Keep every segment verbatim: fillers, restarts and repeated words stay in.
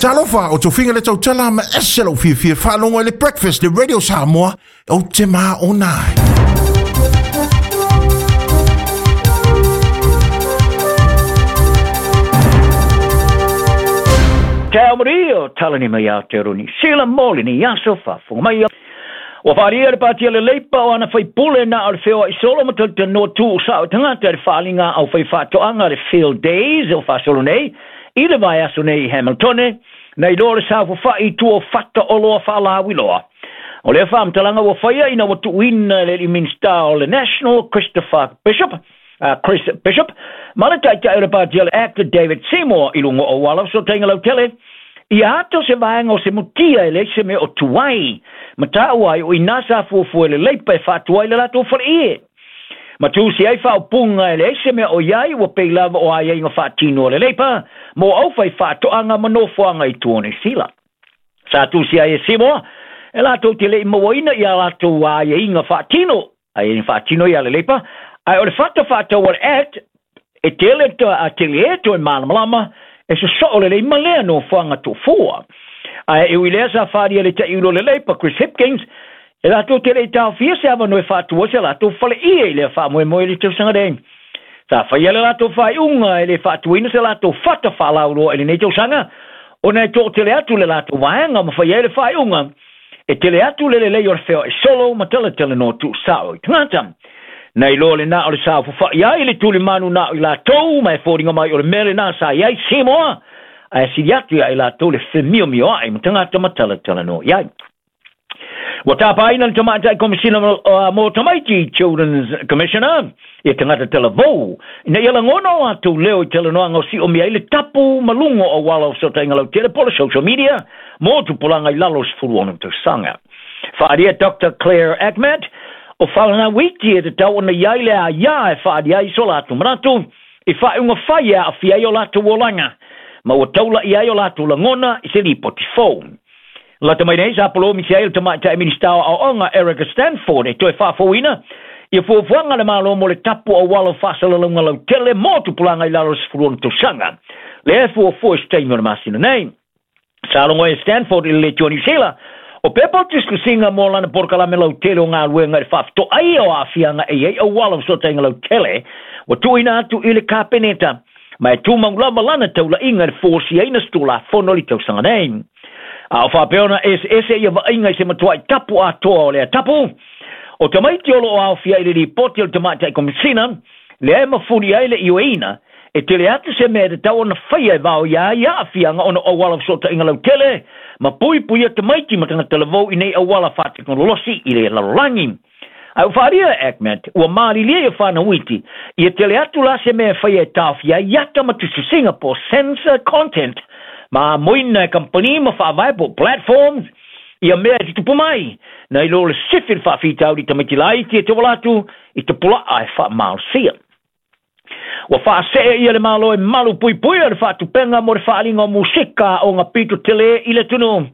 Talofa o tofiga le tautala ma ese lau fiafia faalogo i le Breakfast le Radio Samoa o te maona ai. Te Maria, talani mai Aotearoa Niu Sila, mo lenei aso faafofoga mai. Ua faalia le patia le leipa o ana faipule na o le feoai solo ma talanoa tuusao tagata i le faaliga au faifaatoaga le Field Days o faasolo nei i le vaiaso nei i Hamiltone, na iloa le saofafai i tua o fata o loa faalauiloa. O lea faamatalaga ua faia ina ua tuuina e le alii Minista o le National Christopher Bishop, uh, Chris Bishop, ma le taitai o le patia le Act David Seymour i luga o auala o fesootaiga lautele, ia ato se vaega o se mutia e leai se mea o tuai, ma taua ai o ina sa fuafua e le leipa e faatuai le latou faleie. Ma tusi ai faaupuga e leai se mea o iai ua pei lava o aiaiga faatino a le leipa mo au faifaatoaga ma nofoaga i tua o Niu Sila. Sa tusi ai e Seymour e latou te le'i mauaina ia latou aiaiga faatino, aiaiga faatino ia le leipa, ae o le fata faatau a le Act e tele a tele e toe malamalama e sosoo lelei ma lea nofoaga tuufua. Ae e ui lea sa faalia le ta'iulo le leipa Chris Hipkins e latou te le'i taofia se avanoe faatua se latou faleie i lea faamoemoe i le tausaga nei. Sa faia le latou faaiuga e le faatuaina se latou fata faalauloa i lenei tausaga, ona e to'atele atu le latou vaega ma faia ai le faaiuga e tele atu le lelei o le feoai solo ma talatalanoa tuusao i tagata. Na iloa lenā o le saofafai ai le tulimanu na o i latou ma e foliga mai o le mea lenā sa i ai Seymour, ae sili atu ia i latou le femiomioa'i ma tagata ma talatalanoa i ai. Ua tapaina le tamaitai Komisina mo Tamaiti, Children's Commissioner, ia tagata talavou, ina ia lagona o latou leo i talanoaga o siomia ai le tapu ma luga o auala o fesootaiga lautele po o le social media mo tupulaga i lalo o sefulu ono tausaga. Faalia Doctor Claire Achmat, o whalanawiti e te tau ona iai le a ia e whaari ai so lātou manatu, i whaeunga whai e aafia ai o lātou olaga, ma ua taula i ai o lātou lagona i se lipoti fou. Lata mai nei sa polomi si ai le tamaitai Minista o Aoaoga Erica Stanford e toe faafouina ia fuafuaga le Malo mo le tapu auala o faasalalauga lautele mo tupulaga i lalo o le sefulu ono tausaga. Lea e fuafua i se taimi o le masina nei. Sa logo e Stanford i le leitioa Niu Sila, o pepa o tusitusiga mo lana polokalame lautele o galuega i le faafetoai o aafiaga e i ai auala o fesootaiga lautele, ua tuuina atu i le Kapeneta, ma e tumau lava lana taulaiga i le fosiaina se tulafono i le tausaga nei. A o faapea ona eseese ia vaaiga i se matuai tapu atoa o lea tapu, o tamaiti o loo aofia i le lipoti o le tamaitai Komisina, lea e mafuli ai le ioeina, e tele atu se mea e tatau ona faia e vao ia ai aafiaga ona o auala o fesootaiga lautele, ma puipuia tamaiti ma tagata lavou i nei auala faatekonolosi i le lalolagi. Ae ua faalia e Achmat, ua malilie ia whanauiti, ia tele atu la se mea e faia e taofia ai ata ma tusitusiga po censor content, ma amoina e kampani ma faavae po platforms, ia mea e tutupu mai, na i lo le sifi le faafitauli tamaiti laiti e te wala atu i te pulaa e faamalosia. Ua faasee ia le Malo e malu puipuia le faatupenga mo le faaliga o musika o ngā pito tele i le tunu.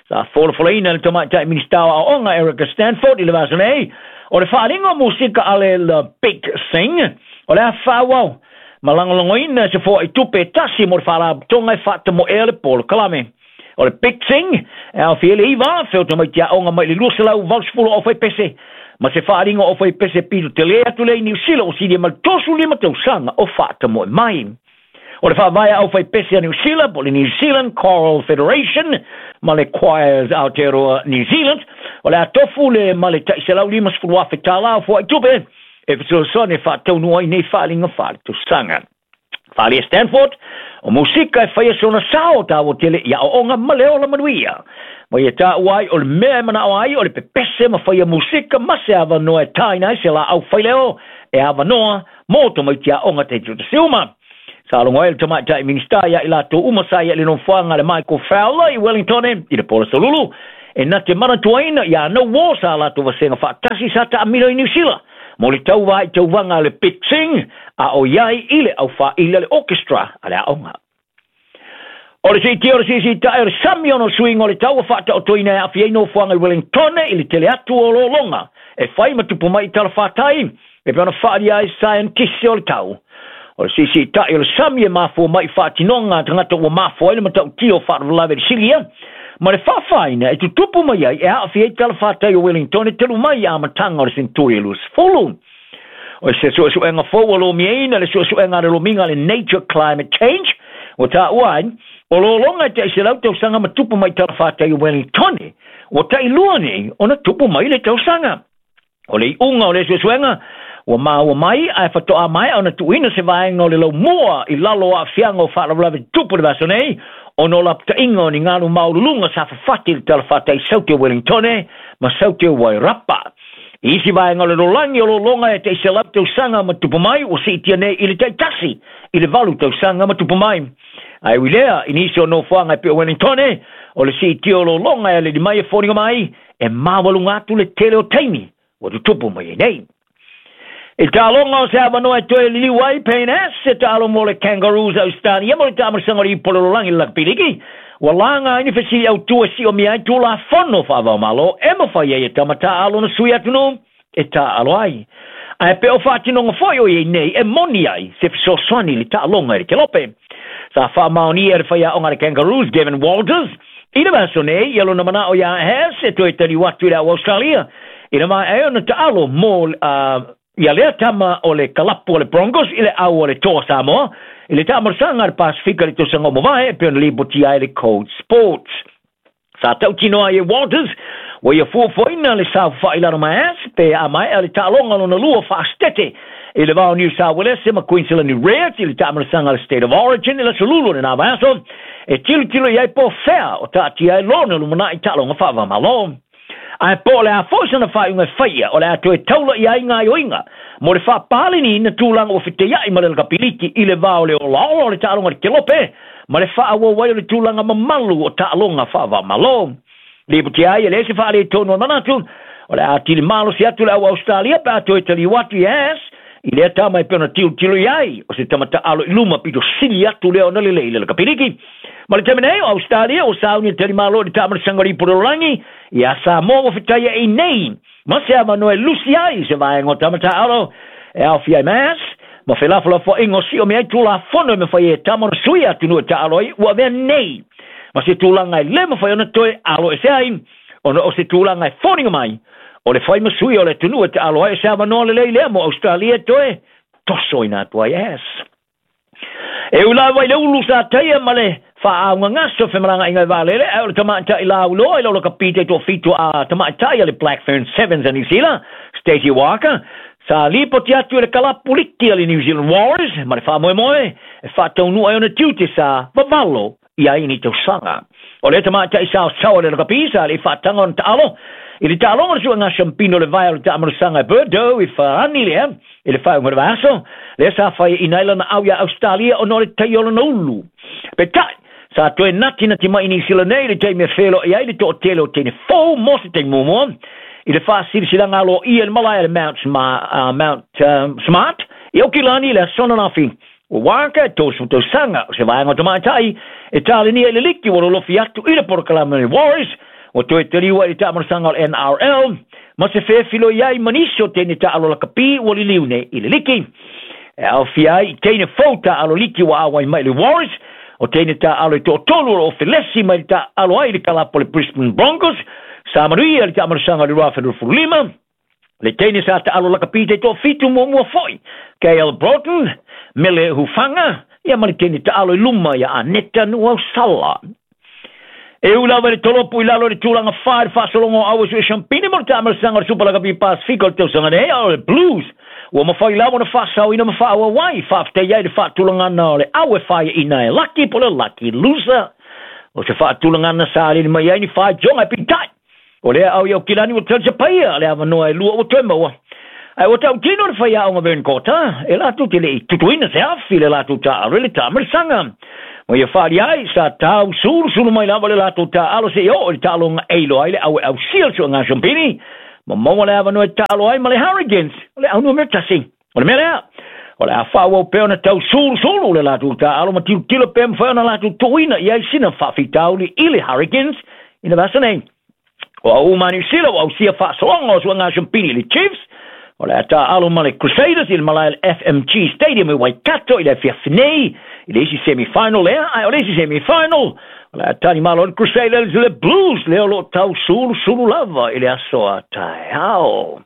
Sa folafolaina le tamaitai Minista o Aoaoga Erica Stanford i le vasa nei, o le faaliga o musika a le The Big Sing, o le a faaauau, ma lagolagoina se foai tupe e tasi mo le faalapotopotoga e faatamoea le polokalame. O le Big Sing, e aofia i le iva afe o tamaiti aoga mai le luaselau valusefulu o faipese, ma se faaliga o faipese pito tele atu lea i Niu Sila o silia ma le tosu lima tausaga o faatamoe mai. O le faavae au faipese a Niu Sila po le New Zealand Choral Federation ma le Choirs Aotearoa New Zealand, o le a tofu le ma le ta'iselau limasefulu afe tālā o foai tupe e fesoasoani e faataunua ai nei faaliga faaletausaga. Faalia Stanford, o musika e whaia sona sao tāua tele i aoaoga ma le ola manuia. Ma ia tāua ai o le mea e manao ai o le pepese ma whaia musika ma se avanoa e tāina ai se la au whaileo e avanoa mō tamaiti aoga te tuta siuma. Sa logo ai le tamaitai Minista ia i latou uma sa ia i le nofoaga le Michael Fowler i Wellington i le Pola Solulu e na te manatuaina ia anau o sa latou vasega faatasi sa taamilo i Niu Sila mo le tauva i tauvaga a le Big Sing a o iai i le aufaili a le orchestra a le aoga. O le siitia o le siisiita'i o le sami ona o suiga o le tau ua faataotoina e aafia ai nofoaga i Wellington i le tele atu o lologa e fai ma tupu mai i talafatai e pei ona faalia ai saienitisi o le tau. O le siisiita'i o le sami e mafua mai i faatinoga a tagata ua mafua ai le matautia o faalavelave i le silia ma le faafaina e tutupu mai ai e aafia ai talafatai o Wellington e talu mai i amataga o le seneturi e luasefulu. O se suesuega fou ua lomiaina le suesuega a le lomiga le Nature Climate Change ua taua ai o lologa e taʻiselau tausaga ma tupu mai talafatai o Wellington ua taʻilua nei ona tupu mai le tausaga. O le iuga o le suesuega ua maua mai ae fatoa mai ona tuuina se vaega o le laumua i lalo o aafiaga o faalavelave tutupu le vaiaso nei ona o lapataiga o ni galu maululuga sa fafati i le talafatai Saute o Wellington ma Saute o Wairarapa. I isi vaega o le lalolagi o lologa e taʻiselau tausaga ma tupu mai ua siitia nei i le taʻitasi i le valu tausaga ma tupu mai. Ae ui lea i nisi o nofoaga e pei o Wellington o le siitia o lologa e aleli mai e foliga mai e maualuga atu le tele o taimi ua tutupu mai ai nei. I taaloga o se avanoa e toe liliu ai Payne Haas e taalo mo le Kangaroos Australia mo le taamalosaga o le ipu o le lalolagi le lakapiliki ua laga ai ni fesili autū e siomia ai tulafono faavaomalo e mafai ai e tama taaalo na sui atunuu e taaalo ai. Ae pe o faatinoga foi o iai nei e moni ai se fesoasoani i le taaloga i le kelope. Sa faamaonia e le faiaoga a le Kangaroos Gavin Walters i le vaiaso nei ia lona manao iā Haas e toe taliu atu i le au Australia i le maea ai ona taalo mo uh, ia lea tama o le kalapu o le Broncos i le au o le Toa Samoa i le taamalosaga a le Pasifika i le tausaga o mavae e pei ona lipotia ai le Code Sports. Sa tautinoa ai e Walters ua ia fuafuaina le saofafai lalo ma Haas pe a maea le taaloga lona lua faastete i le va o New South Wales ma Queensland Reds i le taamalosaga a le State of Origin i le aso Lulu o lena vaiaso e tilotilo i ai po o fea o taatia ai lona lumanai taaloga faavamalo. Ae po o le a foi sana faaiuga e faia o le a toe taula i ai gaoioiga mo le faapaleniina tulaga ua feteia'i ma le lakapiliki i le va o le olaola o le taaloga i le kelope ma le faaauau ai o le tulaga mamalu o taaloga faavamalo. Lipotia ai e leai se faaletonu o le manatu o le a atili malosi atu le au Australia pe a toe taliu atu i Haas i lea tama e pei ona tilotilo i ai o se tama taalo i luma pito sili atu lea ona lelei i le lakapiliki. Ma le taimi nei o Australia ua sauni e talimalo i le taamalosaga o le ipu o le lalolagi ia Samoa ua fetaia'i nei ma se avanoa e lusi ai se vaega o tama taaalo e aofia ai ma Haas ma felafolafoaiga o siomia ai tulafono e mafai ai e tama ona sui atunuu e taalo ai ua avea nei ma se tulaga e le mafai ona toe aloese ai ona o se tulaga e foliga mai o le fai ma sui o le atunuu e taalo ai o se avanoa lelei lea mo Australia e toe tosoina atu ai Haas. E ui lava i le ulu sa taia ma le faaugagaso femalagaaiga i vaalele ae o le tamaʻitaʻi lauloa i le lakapi taitoafitu a tamaʻitaʻi a le Black Fern Sevens a New Zealand Stacey Walker sa lipoti atu i le kalapu liki a le New Zealand Warriors ma le faamoemoe e faataunuu ai ona tiute sa vavalo i ai ni tausaga. O le tamaʻitaʻi saosaoa o le lakapi sa le faataga ona taalo i le taaloga o le suega siampino le vae o le taamalosaga e Bordeaux i Farani lea i le faaiuga o le vaiaso lea sa faiaʻina ai lana au iā Australia ona o le tai o lona ulu. Peitai sa toe natinati mai i Niu Sila nei i le taimi e feloai ai le toatele o teine fou mo se taimi muamua i le faasilasilaga aloaia i le malae a le Mount, Sma, uh, Mount um, Smart i Aukilani i le aso ananafi. Ua waka e tolusefulu tausaga o se vaega o tamaʻitaʻi e talenia i le liki ua lolofi atu i le polokalame o le Warriors ua toe taliu ai i le taamalosaga o le N R L ma se fefiloi ai ma nisi o teine taalo lakapi ua liliu nei i le liki. E aofia ai i teine fou taalo liki ua auai mai i le Warriors o teine taalo e toatolu o loo felesi mai le taalo ai i le kalapu o le Brisbane Broncos sa manuia i le taamalosaga o le lua afe luasefulu lima. Le teine sa taalo lakapi taitoafitu muamua foi K L Broughton Mele Hufanga ia ma le teine taalo i luma ia Aneta Nuausala. E ui lava i le tolopu i lalo i le tulaga fa i le faasologa o au e sue siampini mo le taamalosaga o le Super Lakapi Pasifika o le tausaga nei o le Blues ua mafai lava ona faasaoina ma faaauau ai faafetai ai le faatulagana o le au e faiaʻina e Lucky po o le Lucky Loser. O se faatulagana sa alili mai ai ni faitioga e peitai o lea au i Aukilani ua talisapaia le avanoa e lua ua toe maua. Ae ua tautino le faiaoga Vern Cotter e latou te leʻi tutuina se afi i le latou taalo i le taamalosaga. Ma ia faali ai sa tau sulusulu mai lava le latou taalo seia oo i le taaloga e iloa ai le au e ausia le suega siampini ma maua le avanoa e taalo ai ma le Hurricanes o le au numera tasi. O le mea lea o le a faaauau pea ona tau sulusulu le latou taalo ma tilotilo pea mafai ona latou tuuina i ai sina faafitauli i le Hurricanes i le vaiaso nei. O au uma Niu Sila ua ausia faasologa o suega siampini i le Chiefs O le a taaalo ma le Crusaders i le malae le F M G Stadium i Waikato i le afiafi nei i le isi semifinal lea, ae o le isi semifinal o le a talimalo le Crusaders i le Blues lea o loo tausulusulu lava i le aso a taeao.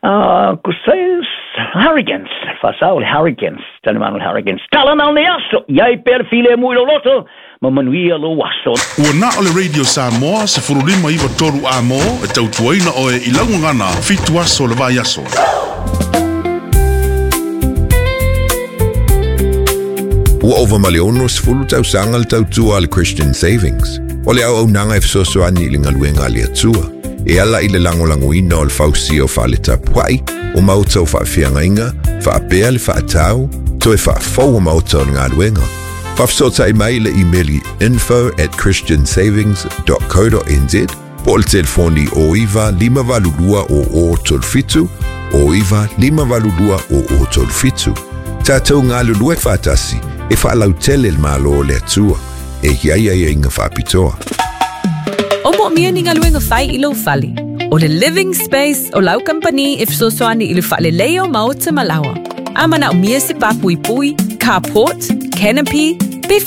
Uh, Crusaders, Hurricanes, faasao le Hurricanes, talimalo le Hurricanes. Tala na o nei aso, iai pea le filemu i lou loto, ma manuia lou aso. Ua na o le Radio Samoa, sefulu lima iwa tolu a mo, e tautuaina oe i laugagana, fitu aso le vai aso. Ua ova ma le ono sefulu tausaga le tautua a le Christian Savings. O le auaunaga e fesoasoani i le galuega a le Atua. E ala i le lagolagoina o le fausia o faaletapua'i, o maota o faafeagaiga, faapea le faatau, toe faafou o maota o le galuega. Faafesootai mai le imeli info at christian savings dot co dot n z po o le telefoni o iwa lima valu lua o o tolu fitu, o iwa lima valu lua o o tolu fitu. Tātou galulue faatasi e faalautele le malo o le Atua, e iai ai inga faapitoa. O mo mia ni ngaluenga fai i lau fale. O le Living Space o lau company e fesoasoani i le faalelei o maota malawa. A mana o mia se papuipui, carport, canopy, pe